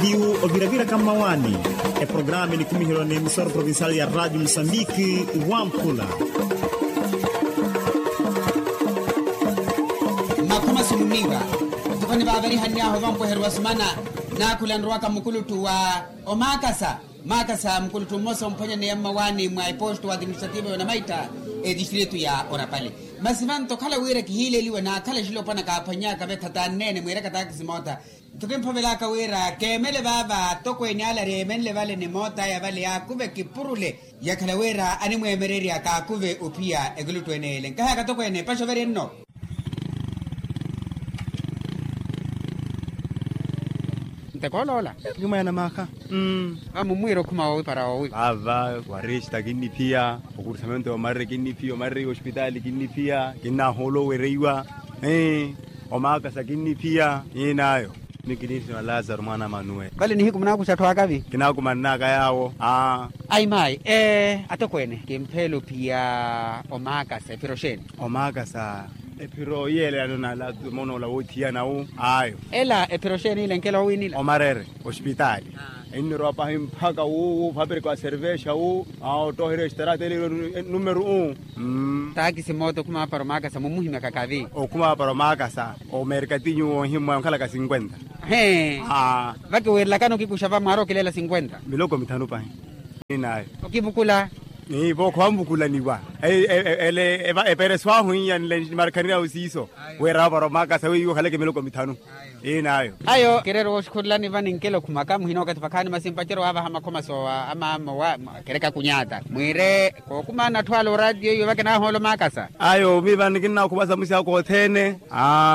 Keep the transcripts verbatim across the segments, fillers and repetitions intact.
Viu oviravira ka mmawaani. Eprograma enikumiherwa n'emisoro provincial ya radio musambiki. Wamphula. Makhuma simuniiva. Ntukhani vaavarihanny'ahu vampweheru wa sumana. Naakhula nrowaka mukuluttu wa omaakasa. Maakasa mukuluttu mmosa omphwanyaneya mmawaani mwa eposto wa administrativo yonamaitta. Etistritu ya orapale. Masi vanto okhala wira kihiileliwa naakhala exilopwana kaaphwanny'aka vetha taanneene mwiiraka taakisi moota. Nto kimphovelaka wira keemele vaava atokweene ale areemenle vale ni moot'aya vale yaakuve kipurule. Yakhala wira animweemererya kaakuve ophiya ekuluttu ene ele nkahaka atokweene epaxo veri enno. Ntekooloola. Yumweena maakha. Vamummwiira okhuma woowi para woowi vaava. Warista kinniphiya. Okursamento yomarere kinniphiya omarere yospitaali kinniphiya kinnahoolo owereiwa. Omaakasa kinniphiya. Iinaayo. Mikinisina lazaro mwaana a manuweli. Vale nihiku munaakuxa atthu akavi. Kinaakumann'aka yaawo. Aimaayi. Atokweene kimpheela ophiya omaakasa ephiro xeeni? Omaakasa ephiro iyeelelano na latumona ola woothiyana wu. Ayo. Ela ephiro xeeni ila enkela owiinila omarere. Ospitaali. Ennirowa pahi mpakha wu wu fapirika wa servexa wu. Ottooherya extaraata ele. Numeru u. Taakisi moota okhuma para omaakasa mumuhimyaka kavi. Okhuma para omaakasa omerkatinyu woohimmwa onkhalaka sinkwenta. He. Vakiweerelakana okikuxa va mwaari okileela sinkwenta. Miloko mithanu pahi. Ninayo. Okivukula. Ni vookho vanvukulaniwa. Ele epereso ahu iyanle markhanira ahu siiso. Wira vavara omaakasa weiwo okhaleke miloko mithanu. Inayo. Ayo kireera wooxikhurelani vani nkelo khumaka muhina okathi vakhaani masi mpacerya waavaha makhomaso a maama owa. Kereka kunyata mwiire kookumaana atthu ala oraatiyo iwe vakinahoola omaakasa. Ayo miivani kinnakhumasa musi ako othene.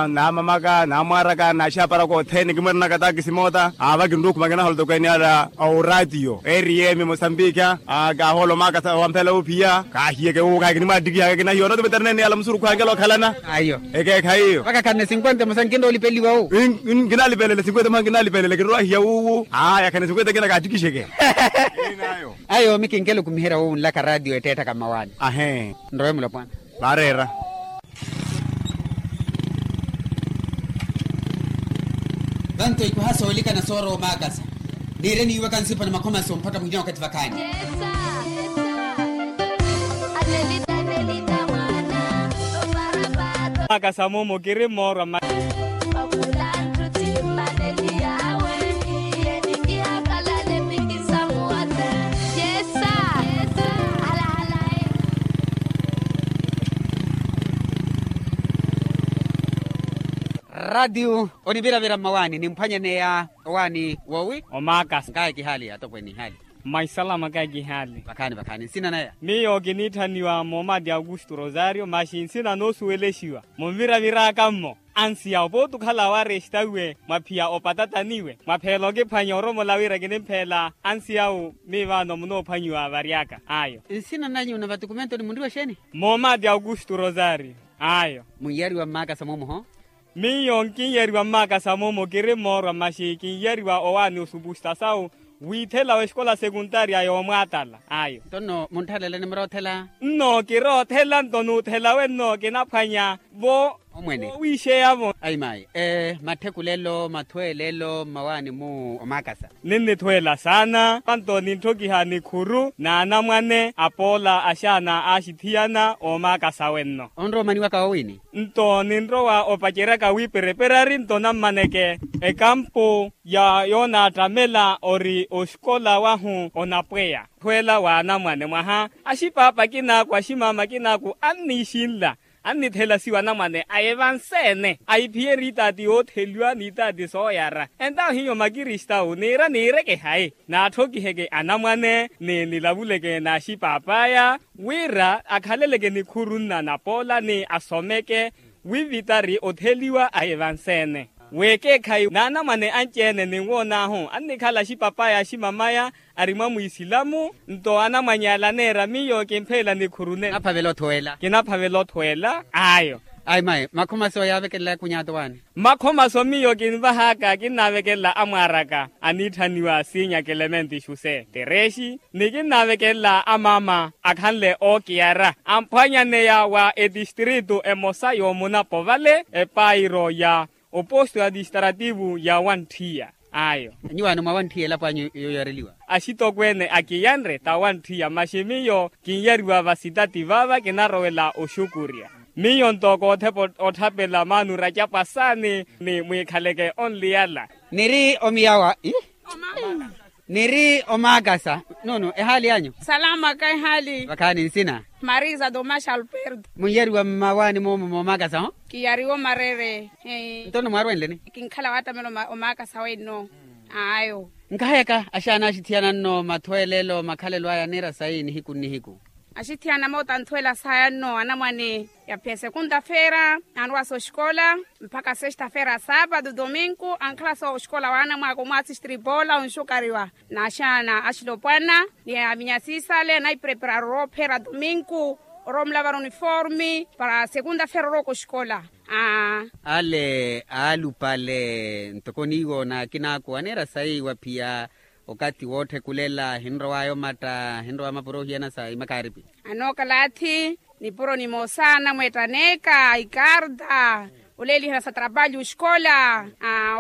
Naamamaka naamwaaraka naaxaparaka othene kimweeranaka taakisi moota vakinrukhuma kinahola tokweene ala. Oraatiyo eriyemi mosambikha. Kaahoola omaakasa wamphela ophiya kaahiyeke wuwo kahi kinimwaattikihaka kinahiya onooto veterneene ala musurukhu ankela okhalana. Ayo. Ekeekhayi iyo vakakhanne sinkwente musa nkinrowa olipeliwa wu. Nkinalipelela sinkwente musa nkinalipelela kinrowa hiya wuwu. Aya khanne sinkwente kina kaattikixeke. Ayo mikinkela okumiherya wowunlaka raatiyo etteetthaka mmawaani. Ahee. Nrowe mulopwana. Vanto ikuha soolikana soorowa omaakasa. Niire niiwaka nsipwa ni makhomaso mpakha muhina wakathi vakhaani. Maakasa moomo kiri mmoorwa mma. Raatiyo oniviravira mmawaani nimphwanyaneya. Owaani woowi omaakasa nkaya kihaali atokweene ihaali. Mwa isalama kaya kihaali. Vakhaani vakhaani nsina naya. Miyo kiniitthaniwa moomaati aukustu rosario masi nsina noosuwelexiwa munviravir'aka mmo. Ansi yawo pooti okhala awaresta iwe mwaphiya opatatani iwe mwapheela okiphwanya oromola wira kinimpheela. Ansi yawo miivaano munoophwanyiwa vary'aka ayo. Nsina nanyu na vatukumentoni munriwa exeeni? Moomaati aukustu rosario. Ayo. Mun'yariwa mmaakasa moomuho. Miyo nkin'yariwa mmaakasa moomo kiri mmoorwa masi kin'yariwa owaani osupusta sawu. Wiithela w'exikola sekuntaria yoomwaatala ayo. Nto nno muntthaleelani muroothela? Nno kiroothela nto nuuthela wenno kinaphwanya vo omwene. Wowixeya-vo. Ayi mayi. Matthekulelo mathweelelo mmawaani mu omaakasa. Ninnithweela saana panto ninthokiha nikhuru n'anamwane apoola axaana aaxithiyana oomaakasa wenno. Onrowa omaniwaka woowini? Nto ninrowa opaceryaka wiipereperari nto nammaneke ekampu ya yoonaattamela ori oxikola wahu onapweya. Thweela w'anamwane mwaha axipaapa akinaaku aximaama akinaaku anniixinla annithelasiwa anamwane a evanseene aiphiyerya itaati yootheliwa n'itaati sooyara entahu hiyo makristawu niira niireke hayi. Naatthokiheke anamwane ni nilavuleke n'axipaap'aya wira akhaleleke nikhuru nna napoola ni asomeke wivitari otheliwa a evanseene. W'ekeekhayi n'anamwane anci-ene ninwoon'ahu annikhala axipap'aya aximam'aya ari mwa mwisilamu. Nto anamwany'ala aneera miyo kimpheela nikhuru nene. Kinaphavela othweela ayo. Ayi mayi makhomaso yaavekelela kunyaato waani? Makhomaso miyo kinvah'aka kinnaavekelela amwaar'aka aniitthaniwa siinya kelementi xuse terexi ni kinnaavekelela amaama akhanle ookiyara amphwanyaneya wa etistritu emosa yoomunapo vale epairo ya oposto ya tistrativu ya wantthiya. Ayo. Nyuwaano mwawanthiya elapo anyu yoyareliwa? Axitokweene akiyanre tawantthiya maxi miyo, kin'yariwa vasitati vaava kinarowela oxukurya. Miyo nto koothepa otthapela maanu racapwa saani ni mwiikhaleke onliyala. Niri omiyawa. Niri omaakasa. Nuunu ehaali anyu? Salama ka ehaali. Vakhaani nsina? Marisa tomaxa alberto. Mun'yariwa mmawaani moomo moomaakasa ho? Kiyariwa omareere. Nto nno mwaarwenleni? Kinkhala waattamela omaakasa wenno. Ayo. Nkahayaka axaana axithiyana nno mathweelelo makhalelo aya aniira sayi nihiku nnihiku? Axithiyana moota anthweela saya nno anamwane, yaphiya sekunta feera anrowa sooxikola, mpakha sesta feera saapatu dominku ankhala sooxikola waanamwaaka omwaasi stripola onxukariwa. N'axaana axilopwana ni aminyasisale anaipreparara oroophera dominku, oroomulavara uniforme para sekunta feera orooka oxikola. Ale aalupale ntoko niiwo n'akinaaku aniira sayi waphiya okathi wootthe kulela ahinrowaya omatta ahinrowaya mapuro ohiyana sa imakaripi. Anookalathi nipuro nimosa anamweettaneka ikarta, oleelihana sa trapalyu oxikola,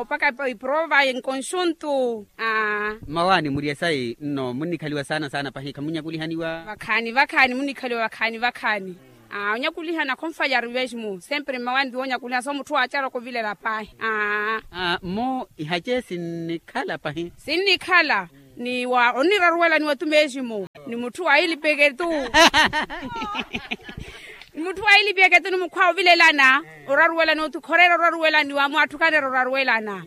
opaka iprova enkonxuntu. Mmawaani murye sayi nno munnikhaliwa saana saana pahi khamunyakulihaniwa? Vakhaani vakhaani munnikhaliwa vakhaani vakhaani. Onyakulihana khonfalya ari mesmo sempre mmawaani ti woonyakulihana soomutthu waacaraka ovilela pahi. Mmo ihace sinnikhala pahi. Sinnikhala ni wa onniraruwelaniwa tu mesmo ni mutthu wailipeke tu. Ni mutthu wailipeke tu ni mukhwawe ovilelana oraruwelaniwa tu khoreera oraruwelaniwa mwaatthukhanera oraruwelana.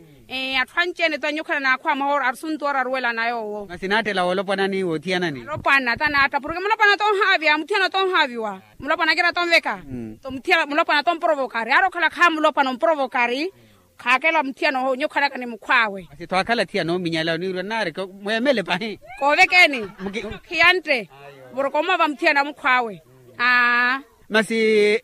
Atthu anci-ene tu anyu okhala naakhwawa mwaha asuntu oraruwelana yoowo. Masi naattela woolopwanani woothiyanani? Alopwana ta naatta porke mulopwana tonhaavya muthiyana tonhaaviwa. Mulopwana akira tonveka. Mulopwana tomporovokari ari okhala khaamulopwana omporovokari. Khaakela muthiyana oho nyukhalaka ni mukhwaawe. Masi tho akhala thiyana ominyala oniirwa naari mweemele pahi. Koovekeni. Khiyantte. Porke omova muthiyana mukhwaawe. Masi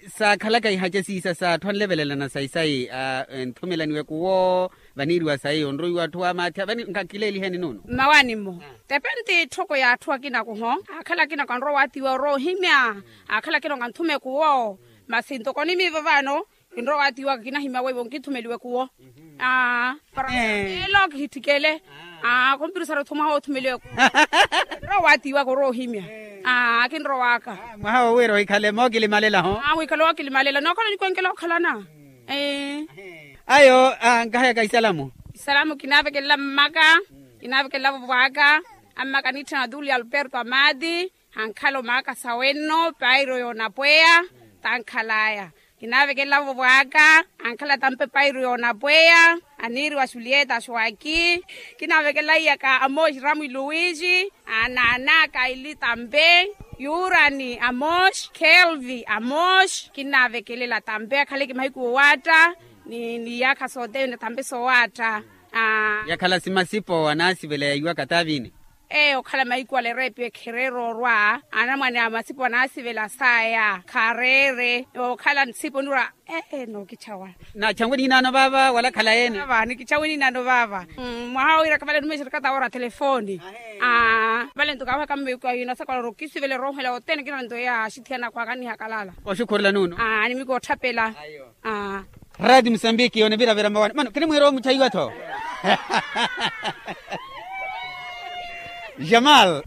saakhalaka ihace siisa sa atthu anlevelelana sayi sayi. Enthumelaniwe kuwo vaniiriwa sayi onroiwa atthu amaathi vani nkakileeliheni nuunu? Mmawaani-mo. Tepenti etthoko ya atthu akinaku ho. Aakhala akinaku anrowa waatiwa oroohimya. Aakhala akinaku anthume kuwo. Masi ntoko nimiivo vano kinrowa waatiwaka kinahimya weiwo nkithumeliwe kuwo. Para elo kihitthikele. Khumpirisara othu mwaha woothumeliwe kuwo. Kinrowa waatiwaka oroohimya. Kinrowaka. Mwaha wo wira ohikhale mookilimalela ho. Wikhale wookilimalela nookhala onikwenkela okhalana. Ayo. Nkahayaka isalamu. Isalamu kinaavekelela mmaka. Kinaavekelela vovwaka. Ammaka anitthana tuli alberto amati. Ankhala omaakasa wenno pairo yoonapweya. Tankhalaya. Kinaavekelela vovwaka. Ankhala tampe pairo yoonapweya. Aniiriwa xulieta axuwaki. Kinaavekelela iyaka amoxi ramo iluwixi. Ananaka ili tampe. Yurani amoxi kelvi amoxi kinaavekelela tampe akhaleke mahiku owaatta. Ni iyaakha sothene tampe sowaatta. Yakhala simasipo anaasivela yaiwaka taavini. Eyo okhala mahiku ale ereepi ekhereera orwa anamwane a masipo anaasivela saya khareere okhala nsipo nirwa. Ee nookitchawa. Naatchawe niinaano vaava wala khala yeene? Nikitchawe niinaano vaava. Mwaha wira kavale numexa erikata wora telefoni. Vale nto kaawehaka mmeeku ayo inasakwala ori okisivela eroohela othene kina nto ya axithiyana akhwaka nihakalala. Oxukhurela nuunu? Nimiko otthapela. Radi musambiki yooneviravira mmawaani mano kinimwiira omuchaiwa-tho. Jamal.